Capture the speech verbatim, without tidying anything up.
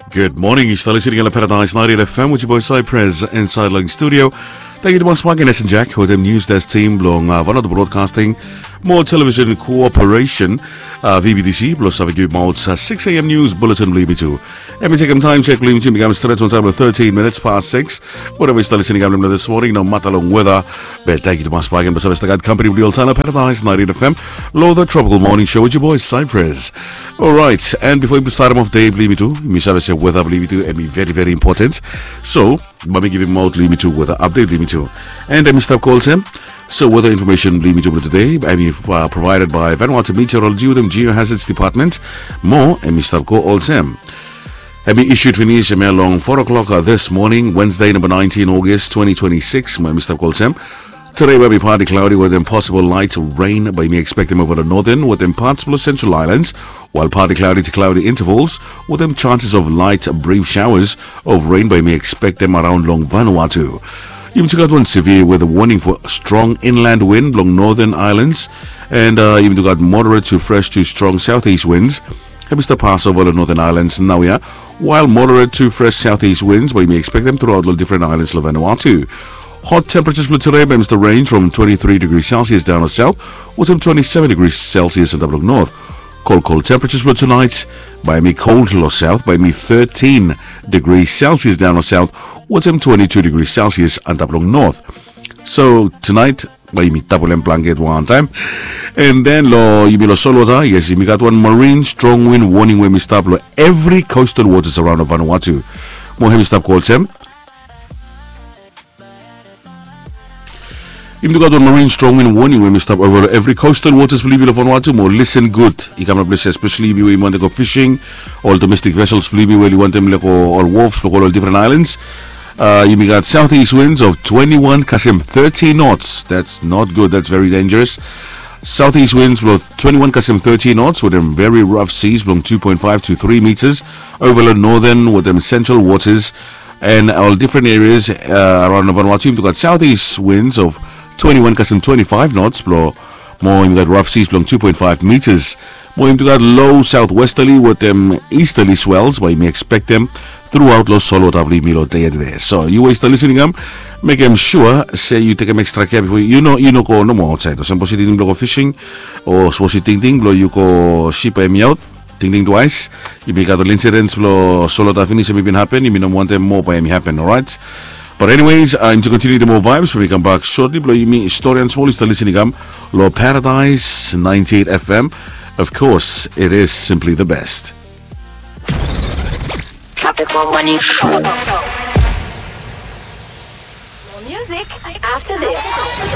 Gud moning, yu stap listening long Paradise ninety-eight F M with your boy Cypress inside long studio. Tangkiu tumas bak long Jack wetem News Desk team blong uh, Vanuatu Broadcasting mo Television Cooperation, uh, V B T C, blong save givim aot uh, six a.m. news bulletin blong yumi tu. Em i tekem taem sek blong yumi tu, mi kam stret on time with thirteen minutes past six. Whatever yu stap listening long this morning, no matter long weather, be tangkiu tumas bak long save stap gat company blong yu oltaem long Paradise ninety-eight F M, long the Tropical Morning Show with your boy Cypress. Alright, and before yumi start off day blong yumi tu, mi save se weather blong yumi tu em i very very important. So, bae mi givim aot long yumi tu weather update blong yumi tu. And em i stap go olsem. So weather information blong yumi tu blong today em i uh, provided by Vanuatu Meteorology wetem Geohazards Department. Mo em i stap go olsem. Em i issued finis em ya long four o'clock uh, this morning, Wednesday, number nineteen August twenty twenty-six. Mo em i stap go olsem. Today will be partly cloudy with a possible light rain, bae yumi expectem over the northern with parts blong Central Islands, while partly cloudy to cloudy intervals with chances of light brief showers of rain, bae yumi expectem around long Vanuatu. Yumi tu gat wan severe weather warning for strong inland wind long northern islands, and uh, yumi tu gat moderate to fresh to strong southeast winds. Em i stap pass over long northern islands naoia, while moderate to fresh southeast winds bae yumi expectem throughout long different islands long Vanuatu. Hot temperatures blong today bae i stap range from twenty-three degrees Celsius down long south wetem twenty-seven degrees Celsius antap long north. Cold, cold temperatures blong tonight bae i cold long south, bae i thirteen degrees Celsius down long south wetem twenty-two degrees Celsius antap long north. So tonight, bae yumi tapolem blanket wantaem. And then long yumi long solwota, yes, yumi gat wan marine strong wind warning we em i stap long every coastal waters around of Vanuatu. Mo em i stap go olsem. Yumi tu gat wan marine strong wind warning we em i stap over long every coastal waters blong yumi long Vanuatu. Mo listen good. I kam long ples especially yumi we yumi wantem go fishing, ol domestic vessels blong yumi we i wantem long go ol wharfs blong go long different islands. Uh, yumi gat southeast winds of twenty-one kasem thirty knots. That's not good. That's very dangerous. Southeast winds blong twenty-one kasem thirty knots wetem very rough seas blong two point five to three meters over long northern wetem central waters and ol different areas uh, around Vanuatu. Yumi tu gat southeast winds of twenty-one kasem twenty-five knots blong mo yumi gat rough seas blong two point five meters. Mo yumi tu gat low southwesterly wetem easterly swells bae yumi expectem throughout long solwota blong yumi long dei ya tede. So yu we yu stap listening am, mekem sua se yu tekem extra care before yu no yu no go nomo aotsaed. Olsem sapos yu tingting blong go fishing o sapos yu tingting blong yu go sip bae hemi aot, tingting twice. Yumi gat ol incidents blong solwota finis hemi bin hapen, yumi no wantem moa bae hemi hapen, alright? But anyways, uh, yumi tu continue the more vibes when we come back shortly. Blong yumi stori and small yu stap listening am long Paradise ninety-eight F M. Of course, it is simply the best. Tropical Morning Show. More music after this.